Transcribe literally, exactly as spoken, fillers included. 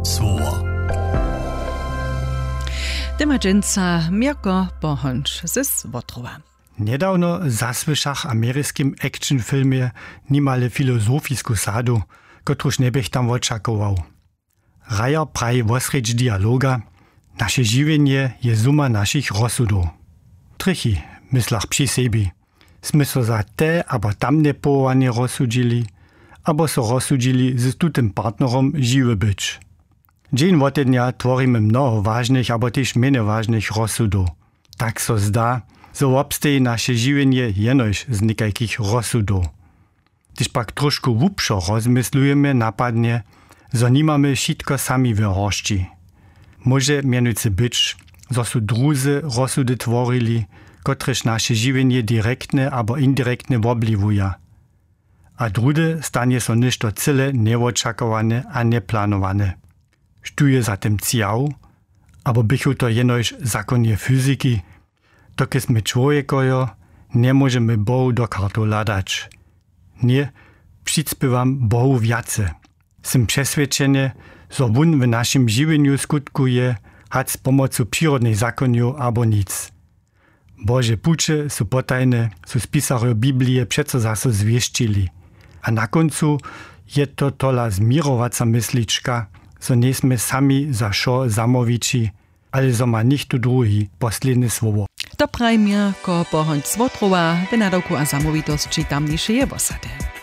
Słowo. Tema dźensa Měrko Pohonč z Wotrowa. Njedawno zasłyšach w ameriskim action filmje nimale filozofisku sadu, kotruž njeběch tam wočakował. Rajer praji wosrjedź dialoga: Naše žiwjenje je zuma našich rozsudow. Trjechi, myslach při sebi, smy so za te abo tamne powołanje rozsudźili, abo so rozsudźili z tutym partnerom žiwy być. Dźeń wotednja tworimy mnoho wažnych abo tež mjenje wažnych rozsudow. Tak so zda, zo wobsteji naše žiwjenje jenož z někajkich rozsudow. Hdyž pak tróšku hłubšo rozmyslujemy, napadnje, zo nimamy wšitko sami w horsći. Móže mjenujcy być, zo su druzy rozsudy tworili, kotrež naše žiwjenje direktnje abo indirektnje wobwliwuja. A druhdy stanje so něšto cyle njewočakowane a njeplanowane. Štó je za tym cjał? Abo běchu to jenož zakonje fyziki? Dokelž smy čłowjekojo, njemóžemy Bohu do kartow hladać. Ně, přispěwam Bohu wjace. Sym přeswědčeny, zo wón w našim žiwjenju skutkuje, hač z pomocu přirodnych zakonjow abo nic. Bože puće su potajne, su spisarjo Biblije přeco zaso zwěsćili. A na kóncu je to tola změrowaca myslička, zo njejsmy sami za wšo zamołwići, ale zo ma něchtó druhi posledne słowo. To praji Měrko Pohonč z Wotrowa w nadawku a zamołwitosći tamnišeje wosady.